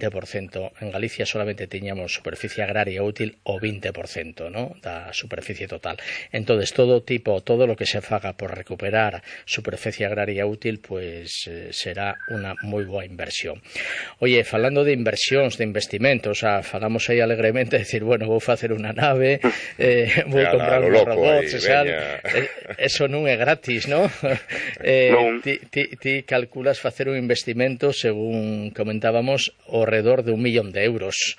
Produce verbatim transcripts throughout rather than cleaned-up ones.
vinte por cento. En Galicia solamente tiñamos superficie agraria útil o vinte por cento, ¿no?, da superficie total. Entonces, todo tipo, todo lo que se faga por recuperar superficie agraria útil, pues eh, será unha moi boa inversión. Oye, falando de inversións, de investimentos, o sea, falamos aí alegremente, decir, bueno, vou facer unha nave, eh, vou comprar uns robots, e tal. Eh, eso non é gratis, ¿no? eh, non. Ti, ti, ti calculas facer un investimento, según comentábamos, ao redor de un millón de euros.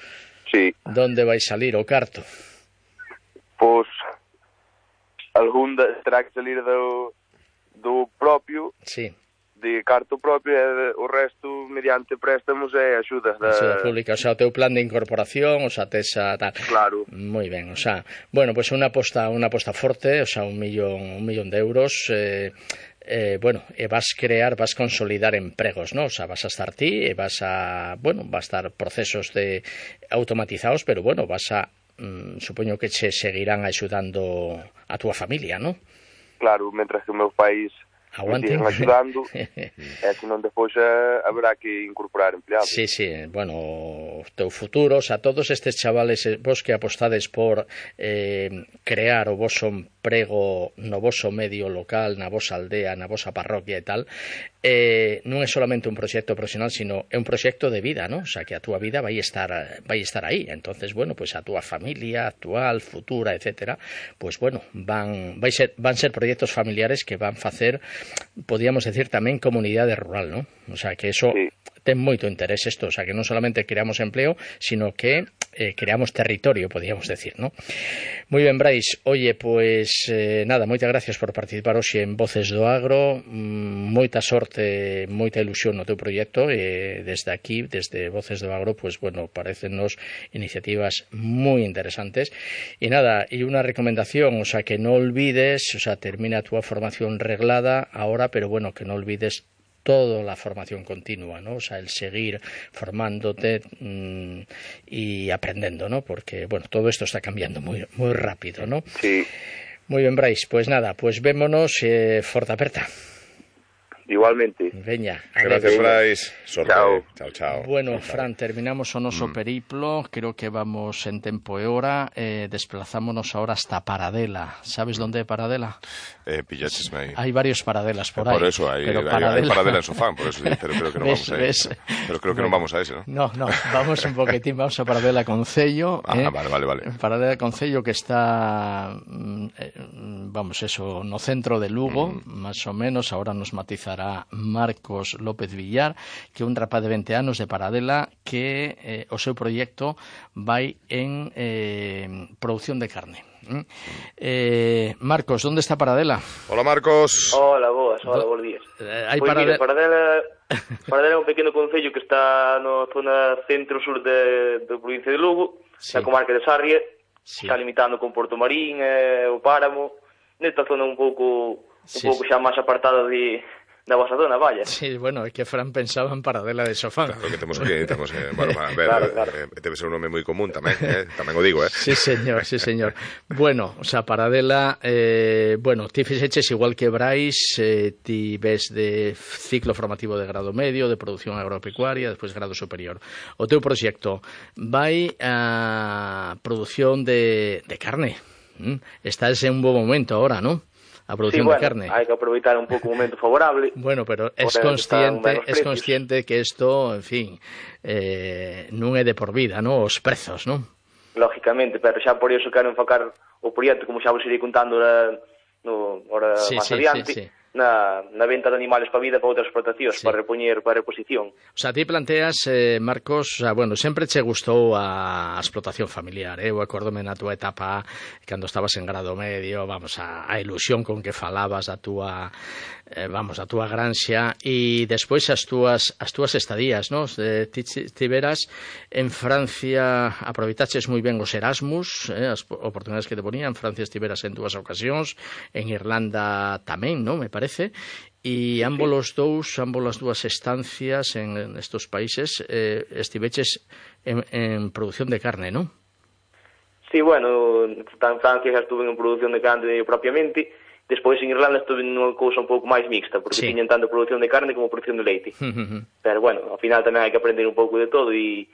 Sí. Donde vai salir o carto? Pois, algún da, terá que salir do, do propio, sí, de carto propio, e o resto mediante préstamos e axudas da... Axuda pública, o sea, o teu plan de incorporación, o sea, tesa tal. Claro. Moi ben, o sea, bueno, pues unha aposta, unha aposta forte, o sea, un millón, un millón de euros, eh, eh, bueno, e vas crear, vas consolidar empregos, ¿no? O sea, vas a estar ti, e vas a, bueno, va a estar procesos de automatizados, pero bueno, vas a, mm, supoño que che seguirán axudando a túa familia, ¿no? Claro, mentras que o meu país aguanten axudando, e senón depois eh, haberá que incorporar empleados. Sí, sí, bueno, o teu futuro, o sea, todos estes chavales, vos que apostades por eh, crear o voso emprego no voso medio local, na vosa aldea, na vosa parroquia e tal, eh, non é solamente un proxecto profesional, sino é un proxecto de vida, ¿no? O sea, que a túa vida vai estar vai estar aí. Entonces, bueno, pues a túa familia actual, futura, etcétera, pues bueno, van vai ser van ser proxectos familiares que van facer, podíamos decir, tamén comunidade rural, ¿no? O sea, que eso sí. ten moito interés isto, o sea, que non solamente creamos empleo, sino que eh, creamos territorio, podíamos decir, ¿no? Moi ben, Brais, oye, pues eh, nada, moitas gracias por participar hoxe en Voces do Agro, mm, moita sorte, moita ilusión no teu proxecto, e desde aquí, desde Voces do Agro, pues bueno, parecennos iniciativas moi interesantes, e nada, e unha recomendación, o sea, que non olvides, o sea, termina a túa formación reglada ahora, pero bueno, que non olvides toda la formación continua, ¿no? O sea, el seguir formándote mmm, y aprendiendo, ¿no? Porque, bueno, todo esto está cambiando muy, muy rápido, ¿no? Sí. Muy bien, Brais, pues nada, pues vémonos, eh, forte aperta. Igualmente. Veña. Gracias, Brais. Sorte. Chao. Chao, chao. Bueno, chao, Fran, terminamos o noso Mm. periplo. Creo que vamos en tempo e hora. Eh, desplazámonos ahora hasta Paradela. ¿Sabes dónde é Paradela? Eh, pillaches aí. Hay varios Paradelas por eh, ahí. Por eso, hay, pero hay, Paradela... hay Paradela en Sofán, por eso, pero creo que no ¿Ves, vamos a ves? ese. Pero creo que bueno, no vamos a ese, ¿no? No, no, vamos un poquitín, vamos a Paradela Concello. Ah, eh, vale, vale, vale. Paradela Concello, que está, eh, vamos, eso, no centro de Lugo, mm. más o menos. Ahora nos matizará Marcos López Villar, que é un rapaz de vinte anos de Paradela, que eh, o seu proxecto vai en eh, producción de carne. Eh, Marcos, ¿dónde está Paradela? Hola, Marcos. Hola, boas, hola, bons días. Eh, hai Pois Paradela... mira, Paradela, Paradela é un pequeno concello que está na zona centro-sur de, de provincia de Lugo, sí. na comarca de Sarria, sí. Está limitando con Porto Marín, eh, o Páramo, nesta zona un pouco un sí, pouco sí. xa máis apartada de da vosa zona, vaya. Sí, bueno, é que Fran pensaba en Paradela de Sofán. Claro que temos que, temos que, bueno, a ver, claro, claro. Eh, debe ser un nome moi común tamén, eh, tamén o digo, eh. Sí, señor, sí, señor. Bueno, o sea, Paradela, eh, bueno, ti fixeches igual que Brais, eh, ti ves de ciclo formativo de grado medio, de produción agropecuaria, despois grado superior. O teu proxecto vai a produción de, de carne. ¿Mm? Estás en un bo momento ahora, ¿no? A producción sí, bueno, de carne. hai que aproveitar un pouco o momento favorable. Bueno, pero es consciente, es consciente que esto, en fin, eh, non é de por vida, ¿no? Os prezos, ¿no? Lógicamente, pero xa por iso quero enfocar o proxecto, como xa vos irei contando na, no, hora sí, máis sí, adiante, sí, sí. Na, na venta de animales para vida para outras explotacións, sí. para repoñer, para reposición. O sea, ti planteas, eh, Marcos, o sea, bueno, sempre che gustou a explotación familiar, eh? Eu acordome na túa etapa, cando estabas en grado medio, vamos, a, a ilusión con que falabas da túa, eh, vamos, a túa granxa, e despois as túas, as túas estadías, ¿no? Eh, ti tiveras en Francia, aproveitaches moi ben os Erasmus, eh, as oportunidades que te ponían. En Francia estiveras en dúas ocasións, en Irlanda tamén, ¿no? Me parece. E ambos os dous, ambos as dúas estancias en, en estos países eh, estiveches en, en producción de carne, ¿no? Sí, bueno, en Francia xa estuve en producción de carne propiamente, despois en Irlanda estuve nunha cousa un pouco máis mixta, porque sí. tiñan tanto producción de carne como producción de leite. Pero bueno, ao final tamén hai que aprender un pouco de todo, e